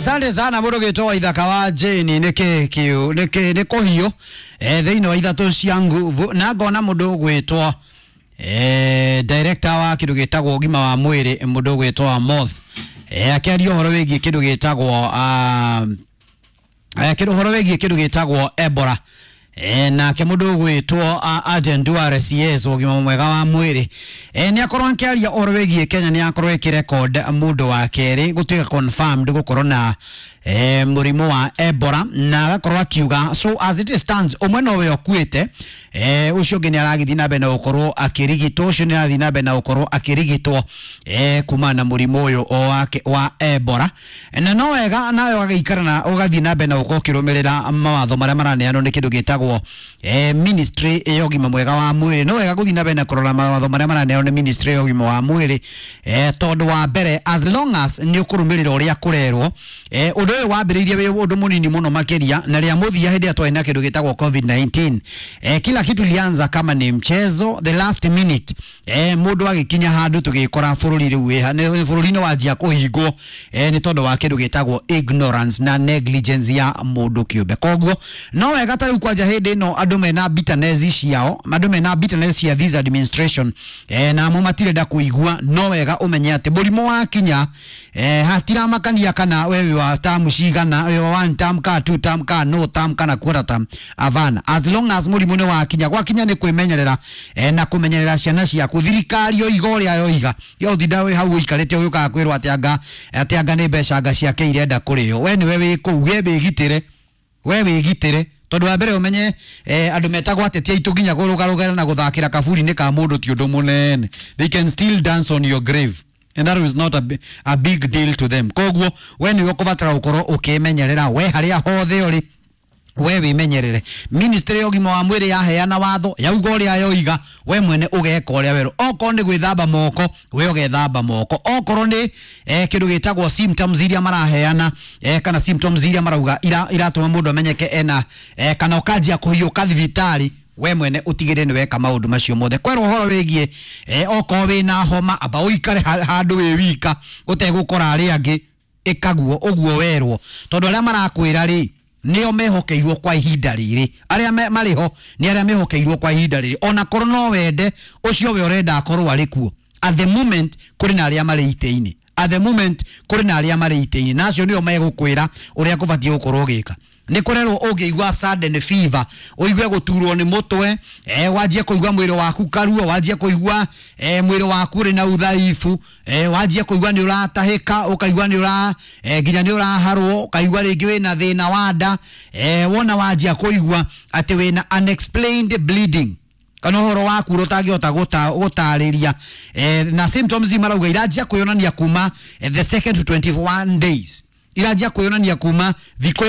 Asante sana mũndũ gĩtwo Ithaka wa Jane nĩ kĩ kĩu nĩ kĩ nĩ kũhiũ thĩinĩ wa ithatũ cia nguvu na ngona mũndũ ũgwĩtwo director wa kĩndũ gĩtagwo ũgima wa mwĩrĩ mũndũ ũgwĩtwo Amoth akĩaria ũhoro wĩgiĩ kĩndũ gĩtagwo kĩndũ ũhoro wĩgiĩ kĩndũ gĩtagwo Ebola. Nake mũndũ ũgwĩtwo Aden Duale CS ũgima mwega wa mwĩrĩ nĩ akorwo akĩaria ũhoro wĩgiĩ Kenya nĩ akorwo ĩkĩrecord mũndũ wa kerĩ gũtuĩka confirmed gũkorwo na mũrimũ wa Ebola na agakorwo akiuga so as it stands ũmwe nowe ũkuĩte, ũcio ũngĩ nĩ aragĩthiĩ na mbere na gũkorwo akĩrigitwo, ũcio nĩ arathiĩ na mbere na gũkorwo akĩrigitwo kumana na mũrimũ ũyũ o wake wa Ebola. Na no wega nawe ũgagĩikara na ũgathiĩ na mbere na gũkorwo ũkĩrũmĩrĩra mawatho marĩa maraneanwo nĩ kĩndũ gĩtagwo ministry ya ũgima mwega wa mwĩrĩ. No wega gũthiĩ na mbere na kũrora mawatho marĩa maraneanwo nĩ ministry ya ũgima wa mwĩrĩ, tondũ wa mbere as long as nĩ ũkũrũmĩrĩra ũrĩa kũrerwo, ũndũ ũyũ wambĩrĩirie wĩ ũndũ mũnini mũno makĩria na rĩa mũthia hĩndĩ ĩrĩa twarĩ na kĩndũ gĩtagwo COVID-19, kila kitu ilianza kama ni mchezo. The last minute mũndũ agĩkinya handũ tũgĩkora bũrũri rĩu bũrũri nĩ wanjia kũhingwo nĩ tondũ wa kĩndũ gĩtagwo ignorance na negligence ya mũndũ kĩũmbe. Koguo no wega ta rĩu kwanja hĩndĩ ĩno andũ mena bitterness ciao, andũ mena bitterness cia this administration, namo matirenda kũigua. No wega ũmenye atĩ mũrimũ wakinya, hatiramakania kana we wĩ wa term cigana, wĩ wa one term ka two term ka no term kana quarter term, avana. As long as mũrimũ nĩ wakinya, gwakinya nĩ kwĩmenyerera na kũmenyerera ciana ciaku. Thirikari yoiga ũrĩa yoiga, yotinda wĩ hau ũikarĩte ũgĩũkaga kwĩrwo atĩ anga nĩ mbeca anga ciake irenda kũrĩo. We nĩwe wĩ kũu, we wĩgitĩre, we wĩgitĩre, tondũ wa mbere ũmenye andũ metagwo ateti aitũ nginya kũrũgarũgara na gũthakĩra kaburi-inĩ ka mũndũ ti ũndũ mũnene. They can still dance on your grave and that is not a big deal to them. Koguo we nĩwe ũkũbatara gũkorwo ũkĩmenyerera we harĩa hothe ũrĩ, we wĩmenyerere. Ministry ya ũgima wa mwĩrĩ yaheana watho, yauga ũrĩa yoiga, we mwene ũgeka ũrĩa werũ. Okorwo nĩ gwĩthamba moko, we ũgethamba moko. Okorwo nĩ kĩndũ gĩtagwo symptoms iria maraheana, kana symptoms iria marauga iratũma mũndũ amenyeke ena, kana ũkanjia kũhiũka thibitarĩ, we mwene utigire nĩ weka maũndũ macio mothe. Kwerwo ũhoro wĩgiĩ okorwo wĩna homa, amba ũikare handũ wĩ wika ũtegũkora arĩa angĩ, ĩkaguo ũguo werwo, tondũ arĩa marakwĩra rĩ nĩo mehokeirwo kwa ihinda rĩrĩ. Arĩa marĩ ho nĩ arĩa mehokeirwo kwa ihinda rĩrĩ. Ona korwo no wende ũcio we ũrenda akorwo arĩ kuo at the moment, kũrĩ na arĩa marĩ itĩ-inĩ. At the moment kũrĩ na arĩa marĩ itĩ-inĩ, na acio nĩo megũkwĩra ũrĩa kũbatiĩ gũkorwo ũgĩka. Nĩ kũrerwo ũngĩigua sudden fever, ũigue gũturwo nĩ mũtwe, wanjie kũigua mwĩrĩ waku karuo, wanjie kũigua mwĩrĩ waku ũrĩ na udhaifu, wanjie kũigua nĩ ũratahĩka, ũkaigua nĩ ũra nginya nĩ ũraharwo, ũkaigua rĩngĩ wĩna thĩna wa nda, wona wanjia kũigua atĩ wĩna unexplained bleeding kana ũhoro waku ũrĩa ũtangĩhota gũtarĩria, na symptoms marauga iranjia kwĩyonania kuma the second to 21 days, iranjia kwĩyonania kuma thikũ